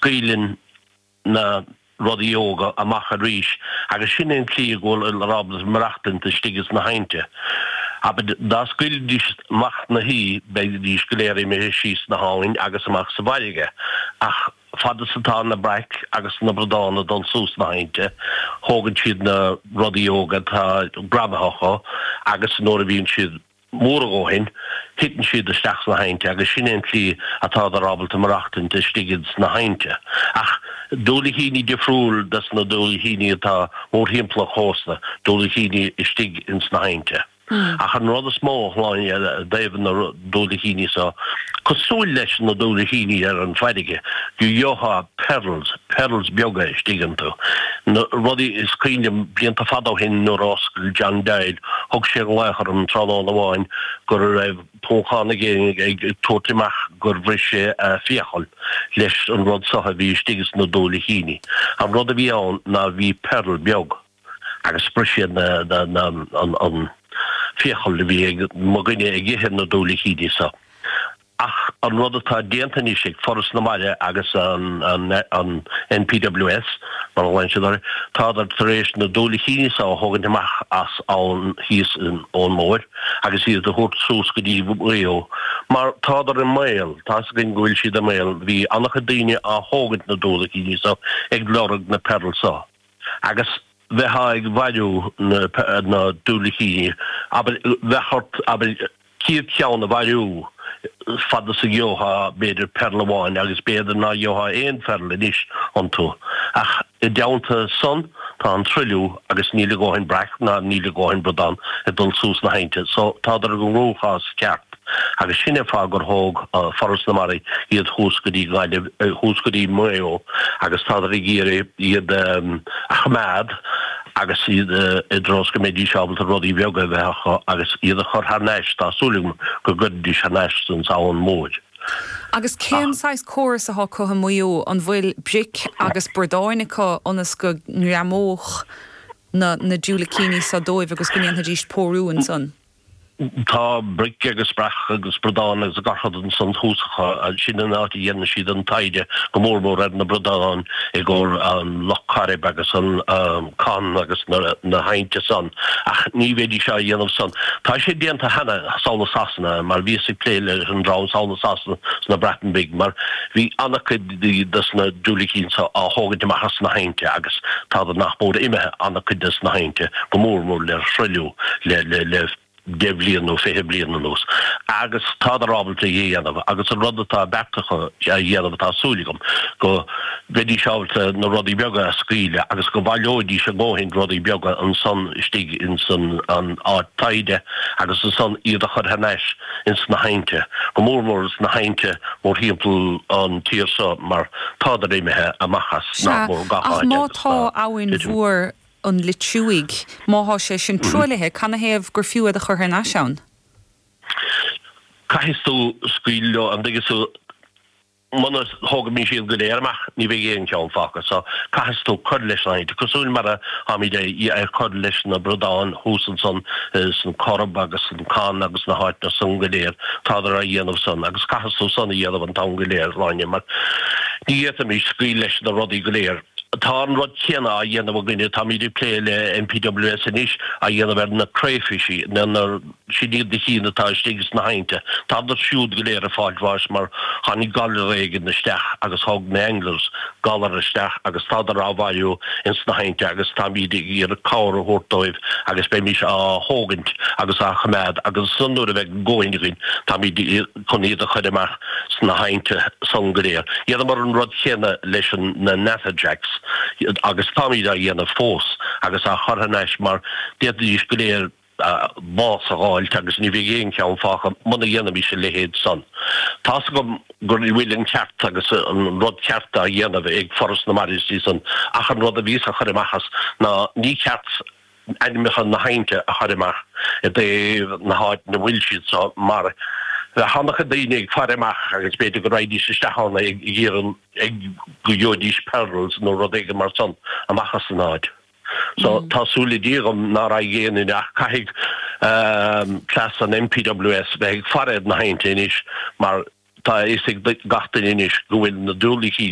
Scaoileann na rudaí óga amach arís agus sin é an tslí go bhfuil ábalta maireachtaint istigh ins na hainnte. Abair, dá scaoilfidís amach na haoi beidís go léir imithe síos sna habhainn agus amach sa bhfarraige ach fad is atá na braic agus na bradáin ag dul suas sna hainnte thógann siad na rudaí óga atá greamaithe acu agus nuair a bhíonn siad mór a dhóthain, titeann siad isteach sna hainnte agus sin é an tslí atádar ábalta maireachtaint istigh ins na hainnte. Ach diúilicíní difriúil des na diúilicíní atá mórthimpeall an chósta, diúilicíní istigh ins na hainnte. Ach an rud is mó, a Shláine, i dtaobh na diúilicíní so, cosúil leis na diúilicíní ar an bhfarraige, go gheofá pearls, pearls beaga istigh iontu. Na rudaí, is cuimhin liom blianta fada ó shin nuair a oscail John Doyle, thug sé glaoch orm tráthnóna amháin go raibh Poncán aige ag tabhairt amach gur bhris sé a fiacail leis an rud so a bhí istigh sna diúilicíní. An rud a bhí ann ná bhí pearl beag agus bhris sé an fiacail a bhí ag mo dhuine ag ithe na diúilicíní so. Ach an rud atá déanta anois ag Foras na Mara agus an NPWS, mar a ghlaonn siad orthu, tádar tar éis na diúilicíní so a thógaint amach as abhainn thíos ón móir agus iad a thabhairt suas go dtí Maigh Eo mar tádar i mbaol, tá's againn go bhfuil siad i mbaol, bhí an-chuid daoine á thógaint na diúilicíní so ag lorg na pearls so. Agus bheifeá ag bhailiú na diúilicíní, abair, bheadh ort, abair, 100 ceann a bhailiú fad is a gheofá b'fhéidir pearl amháin agus b'fhéidir ná gheofá aon phearl anois iontu. Ach i dteannta san tá an truailliú agus níl a dhóthain breac ná níl a dhóthain bradán ag dul suas na hainnte so tádar i gcruachás ceart. Agus sin é fáth gur thóg Foras na Mara iad thuas go dtí Gaillimh, thuas go dtí Maigh Eo agus tádar ag iarraidh iad a choimeád agus iad i dtreo is go mbeidís ábalta rudaí beaga a bheith acu agus iad a chur thar n-ais, tá súil agam go gcuirfidís thar n-ais san abhainn mhóir. Agus cén saghas córas atá acu i Maigh Eo? An bhfuil bric agus bradáin acu ionas go ngreamódh na na diúilicíní seo dóibh agus go ndéanfaidís pórú ansan? Tá bric agus breac agus bradán agus gach rud ansan thuas acu. Sin an áit a dhéanann siad an taighde go mór mór ar na bradáin i gcomhair an Loch Coirib agus an Con agus na hainnte san. Ach ní bheidís á dhéanamh san. Tá sé déanta cheana sall i Sasana mar bhíos ag plé leis an dream sall i Sasana sna Breatain Bhig mar bhí an-chuid des na diúilicíní so á thógaint amach as na hainnte agus tádar nach mór imithe an-chuid des na hainnte go mór mór le thruailliú. le 10 bhliain nó 20 bliain anuas agus tádar ábalta é a dhéanamh agus an rud atá beartaithe acu a dhéanamh tá súil agam go mbeidís ábalta na rudaí beaga a scaoileadh agus go bhaileoidís a ndóthain rudaí beaga ansan istigh ins an áit taighde agus ansan iad a chur thar n-ais ins na hainnte, go mór mór ins na hainnte mórthimpeall an tír seo mar tádar imithe amach as nach mór gach áit agus tá. Ach má tá abhainn mhór an Loitiúigh, má thá sé sin truaillithe, canathaobh gur fiú iad a chur thar n-ais ann? Caithfidh tú scaoileadh leo, an dtuigeann tú? Muna thógaimis iad go léir amach, ní bheidh aon cheann fágtha. So, caithfidh tú cur leis na hainnte, cosúil mar a tháimid ag cur leis na bradáin thuas ansan san Corrib agus san Con agus na háiteanna san go léir, tádar á dhéanamh san agus caithfidh tú san a dhéanamh an t-am go léir, Sláine, mar ní fhéadfaimis scaoileadh leis na rudaí go léir. Tá an rud céanna á dhéanamh againne, táimid ag plé le NPWS anois, á dhéanamh ar na crayfish, na, na, sin iad na cinn atá istigh sna hainnte. Tádar siúd go léir ag fáilt bháis mar tháinig galar éigin isteach agus thug na anglers galar isteach agus tádar á bhailiú ins na hainnte agus táimid ag iarraidh cabhair a thabhairt dóibh agus beimís á thógaint agus á choimeád agus ansan nuair a bheidh a ndóthain againn táimid chun iad a chur amach sna hainnte san go léir. Dhéanamar an rud chéanna leis na Natterjacks agus táimid á dhéanamh fós agus á chur thar n-ais mar d'fhéadfaidís go léir bás a dh'fháilt agus ní bheidh aon cheann fágtha muna dhéanaimis a leithéid san. Tá's agam go bhfuil an ceart agus an rud ceart á dhéanamh ag Foras na Mara istigh san ach an rud a bhíos a chur amach as ná ní ceart ainmneacha na hainnte a chur amach i dtaobh na háit 'na bhfuil siad so mar bheadh an-chuid daoine ag faire amach agus b'fhéidir go raghaidís isteach ann ag iarraidh ag go gheobhaidís pearls nó rud éigin mar san amach as an áit. So tá súil le Dia agam ná raghaidh aon duine ach caithfidh cleas an NPWS bheith ag faire ar na hainnte anois mar tá a fhios ag gach duine anois go bhfuil na diúilicíní.